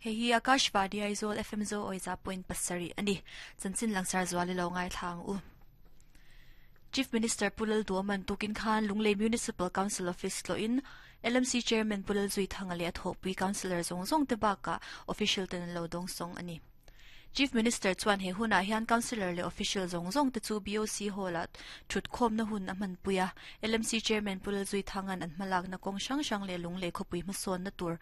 Hei hi Akashvani Aizawl FM Zo Awiza point pasarih a ni. Chanchin langsar zual i lo ngaithla ang u. Chief Minister Pu Lalduaman tukin khan Lunglei Municipal Council Office tlawhin LMC Chairman Pu Lalzuithanga leh a thawhpui Councillor zawng zawng te bakah official ten an lo dawngsawng a ni. Chief Minister chuan he hunah hian Councillor leh Official zawng zawng te chu BOC Hall-ah thutkhawmna hun a hmanpui a. LMC Chairman Pu Lalzuithanga'n an hmalakna kawng hrang hrang leh lunglei khawpui hmasawnna tur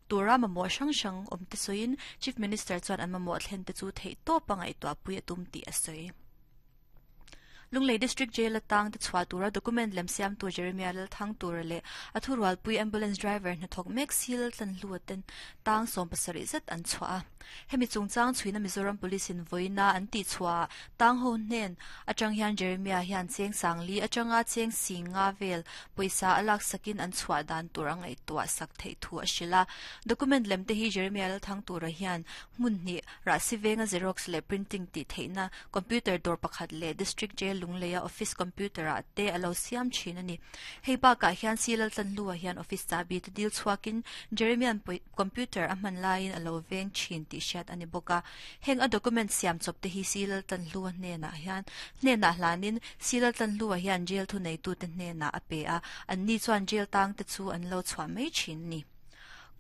tura mamawh hrang hrang awm te sawiin Chief Minister chuan an mamawh thlen te chu theihtawpa ngaihtuahpui a tum tih a sawi. Lunglei District Jail atang te chhuah tura document lem siamtu Jeremiah Lalthangtura leh a thurualpui ambulance driver hnathawk mek Sil Tlanhlua ten tang 70 zet an chhuah a. Hemi chungchang chhuina Mizoram Police in vawiina an tih chhuahah tang ho hnen atang hian Jeremiah hian cheng sangli atanga cheng sing nga vel pawisa a laksakin an chhuah dan tur a ngaihtuah sak theih thu a hrilh a. Document lem te hi Jeremiah Lalthangtura hian hmun hnih Rahsi venga Xerox leh printing tih theihna computer dawr pakhat leh District Jail Lungleia office computer ah te a lo siam thin a ni. Hei bakah hian Si Laltlanhlua hian office chahbi te dil chhuakin Jeremian computer a hman laiin a lo veng thin tih hriat a ni bawk a. Heng a document siam chawp te hi Si Laltlanhlua hnenah hian hnenah hlanin Si Laltlanhlua hian jail thuneitute hnenah a pe a, anni chuan jail tang te chu an lo chhuah mai thin a ni.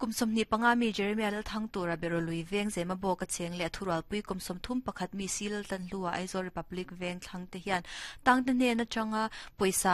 Kum 25 mi Jeremiah Lalthang tura Berolui veng Zema bawk a cheng leh a thurualpui kum 31 mi Si Laltlanhlua Aizawl Republic veng thlang te hian tangte hnen atanga pawisa.